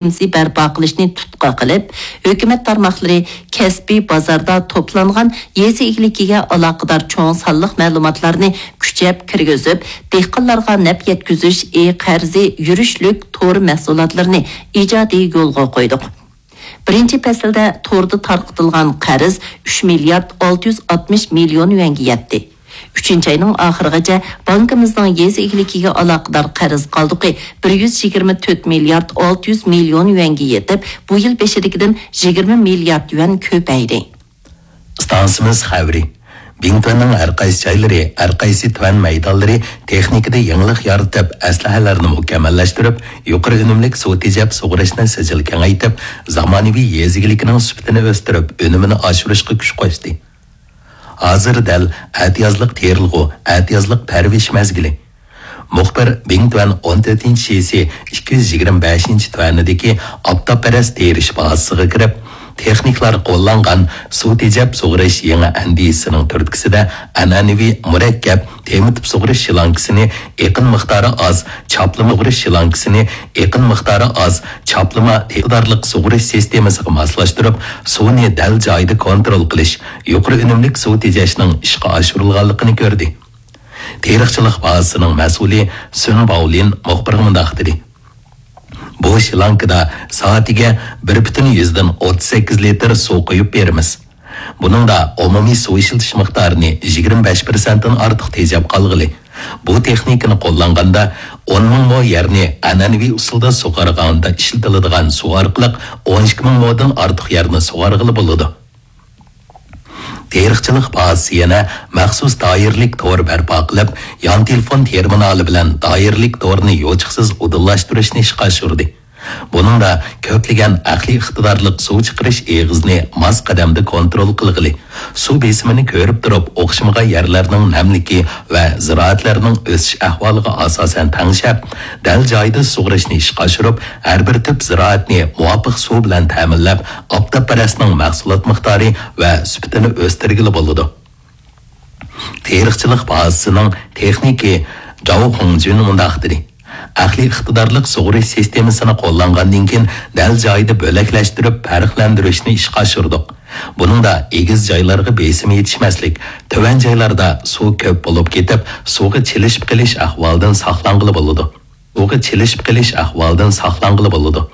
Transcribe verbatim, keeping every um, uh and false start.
سىستېمىسى بەرپا قىلىشنى تۇتقا قىلىپ، ھۆكۈمەت تارماقلىرى كەسپىي بازاردا توپلانغان يېزا ئىگىلىكىگە ئالاقىدار چوڭ سانلىق مەلۇماتلارنى كۈچەپ كىرگۈزۈپ، دېھقانلارغا نەپ يەتكۈزۈش ئى قەرزى يۈرۈشلۈك تور مەھسۇلاتلىرىنى ئىجادىي يولغا قويدۇق. بىرىنچى پەسىلدە توردا تارقىتىلغان قەرز ئۈچ مىليارد ئالتە يۈز ئاتمىش مىليون يۈەنگە يەتتى. ئۈچىنچى ئاينىڭ ئاخىرىغىچە بانكىمىزنىڭ يېزا ئىگىلىكىگە ئالاقىدار قەرز قالدۇقى بىر يۈز يىگىرمە تۆت مىليارد ئالتە يۈز مىليون يۈەنگە يېتىپ، بۇ يىل بېشىدىكىدىن يىگىرمە مىليارد يۈەن كۆپەيدى. ئىستانسىمىز خەۋىرى. بىڭتۈەننىڭ ھەر قايسى جايلىرى، ھەر قايسى تۈەن مەيدانلىرى تېخنىكىدا يېڭىلىق يارىتىپ، ئەسلىھەلەرنى مۇكەممەللەشتۈرۈپ، يۇقىرى ئۈنۈملۈك سۇ تېجەپ سۇغىرىشنى سىجىل كېڭەيتىپ، زامانىۋى يېزا ئىگىلىكىنىڭ سۈپىتىنى ئۆستۈرۈپ، ئۈنۈمىنى ئاشۇرۇشقا كۈچ قوشتى. ھازىر دەل ئەتىيازلىق تېرىلغۇ، ئەتىيازلىق پەرۋىش مەزگىلى. مۇخبىر بىڭتۈەن ئون تۆتىنچى شىسى ئىككى يۈز يىگىرمە بەشىنچى تۈەنىدىكى ئاپتاپپەرەس تېرىش بازىسىغا كىرىپ، تېخنىكلار قوللانغان سۇ تېجەپ سۇغىرىش يېڭى ئەندىزىسىنىڭ تۈرتكىسىدە ئەنئەنىۋى مۇرەككەپ تېمىتىپ سۇغىرىش شلانكىسىنى ئېقىن مىقدارى ئاز، چاپلىما سۇغىرىش شلانكىسىنى ئېقىن مىقدارى ئاز، چاپلىما ئىقتىدارلىق سۇغىرىش سىستېمىسىغا ماسلاشتۇرۇپ، سۇنى دەل جايىدا كونترول قىلىش، يۇقىرى ئۈنۈملۈك سۇ تېجەشنىڭ ئىشقا ئاشۇرۇلغانلىقىنى كۆردى. تېرىقچىلىق بازىسىنىڭ مەسئۇلى سۈن باۋلىن مۇخبىرغا مۇنداق دېدى: بۇ شلانكىدا سائىتىگە بىر پۈتۈن يۈزدىن ئوتتۇز سەككىز لىتىر سۇ قۇيۇپ بېرىمىز. بۇنىڭدا ئومۇمىي سۇ ئىشلىتىش مىقدارىنى يىگىرمە بەش پىرسەنتتىن ئارتۇق تېجەپ قالغىلى. بۇ تېخنىكىنى قوللانغاندا، ئون مىڭ مو يەرنى ئەنئەنىۋى ئۇسۇلدا سۇغارغاندا ئىشلىتىلىدىغان سۇ ئارقىلىق ئون ئىككى مىڭ مودىن ئارتۇق يەرنى سۇغارغىلى بولىدۇ. تېرىقچىلىق بازىسى يەنە مەخسۇس دائىرىلىك تور بەرپا قىلىپ، يان تېلېفون تېرمىنالى بىلەن دائىرىلىك تورنى يوچۇقسىز ئۇدۇللاشتۇرۇشنى ئىشقا ئاشۇردى. بۇنىڭدا كۆپلىگەن ئەقلىي ئىقتىدارلىق سۇ چىقىرىش ئېغىزىنى ماس قەدەمدە كونترول قىلغىلى، سۇ بېسىمىنى كۆرۈپ تۇرۇپ ئوخشىمىغان يەرلەرنىڭ نەملىكى ۋە زىرائەتلەرنىڭ ئۆسۈش ئەھۋالىغا ئاساسەن تەڭشەپ، دەل جايىدا سۇغىرىشنى ئىشقا ئاشۇرۇپ، ھەر بىر تۈپ زىرائەتنى مۇۋاپىق سۇ بىلەن تەمىنلەپ، ئاپتاپپەرەسنىڭ مەھسۇلات مىقدارى ۋە سۈپىتىنى ئۆستۈرگىلى بولىدۇ. تېرىقچىلىق بازىسىنىڭ تېخنىكى جاۋ خۇڭجۈن مۇنداق دېدى: ئەقلىي ئىقتىدارلىق سۇغىرىش سىستېمىسىنى قوللانغاندىن كېيىن، دەل جايىدا بۆلەكلەشتۈرۈپ پەرقلەندۈرۈشنى ئىشقا ئاشۇردۇق. بۇنىڭدا ئېگىز جايلارغا بېسىم يېتىشمەسلىك، تۆۋەن جايلاردا سۇ كۆپ بولۇپ كېتىپ، سۇغا چىلىشىپ قېلىش ئەھۋالىدىن ساقلانغىلى بولىدۇ. سۇغا چىلىشىپ قېلىش ئەھۋالىدىن ساقلانغىلى بولىدۇ.